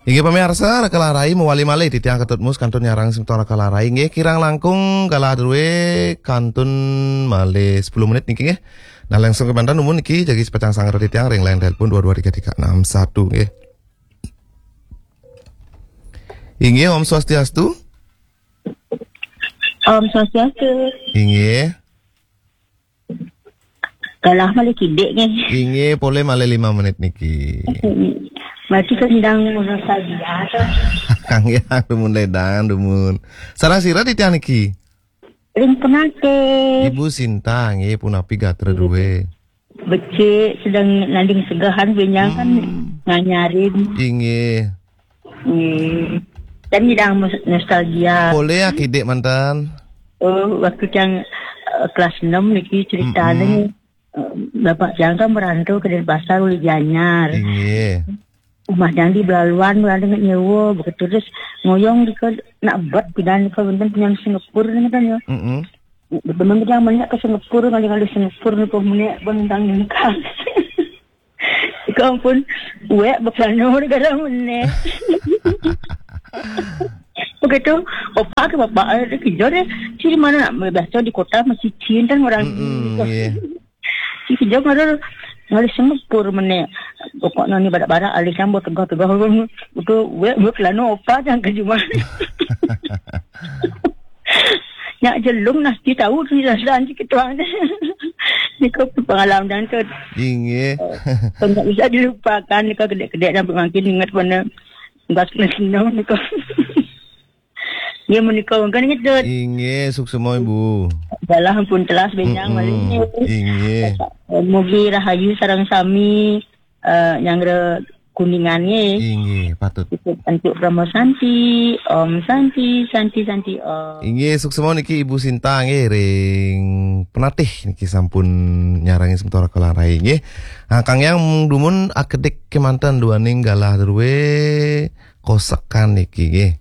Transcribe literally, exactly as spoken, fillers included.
Inggih pamiarsa, Raka Larai mawali malih titiang Ketut Mus kantun nyarengin semeton Raka Larai. Inggih kirang langkung galah drué kantun malih sepuluh menit niki nggih. Nah, langsung kemanten dumun niki jagi pacang sanggra titiang ring line telepon dua dua tiga tiga enam satu nggih. Inggih, Om Swastiastu. Om Swastiastu. Inggih. Galah malih kidik nggih. Inggih, polih malih lima menit niki. Berarti kendang nostalgia to. Kang Yang dumun ledang dumun. Sareng sira titiang niki? Ring Penatih. Ibu Sinta nggih, punapi gatra drué? Becik, sedang nanding segehan benjang kan Hmm. nganyarin. Inggih. Nggih. Dan nyidang mus- nostalgia. Polih ya kidik manten. Oh, waktu tiang eh, kelas enam niki ceritanya. Mm-mm. Eh, bapak tiang kan merantau ke Denpasar uli Gianyar. Inggih. Umah tiang di Belaluan, berada nggak nyewa, begitu terus ngoyong di ke nak bet pidan ke benten punya Singapura ni kan ya. Mm-mm. Teman kita banyak ke Singapura, ngalih-ngalih Singapura ni pun menek pun tentang nyengkang. Kau pun wek bekelana negara menek. Begitu, opa ke bapak eh, dia kerja deh. Ciri mana nak biasa di kota masih cinta orang Mm-mm, iya. Si kerja ngalih ngalih Singapura menek. Pokoknya ni barak-barak alih campur tegah-tegah. Betul, wek bekelana opa yang kerja mana. Nyak jelung nasi tahu tu jelas dan sikit tuan. Ni kau pengalaman dan tu. Inggih. Kau tak bisa dilupakan ni kau kedek-kedek dan makin ingat mana. Bas kena senang ni kau. Ya menikah kan gitu. Inggih, suksma Ibu. Dalah pun telas benjang Mm-mm. Malih. Inggih. Mugi rahayu sareng sami eh, nyanggra Kuningan nggih. Inggih, patut. Antuk Brahma Santi, Om Santi, Santi, Santi, Om. Inggih, suksma niki Ibu Sinta nggih ring Penatih niki sampun nyarengin semeton Raka Larai nggih. Ah, Kang Yang dumun akedik kemanten duaning galah drué kosekan niki nggih.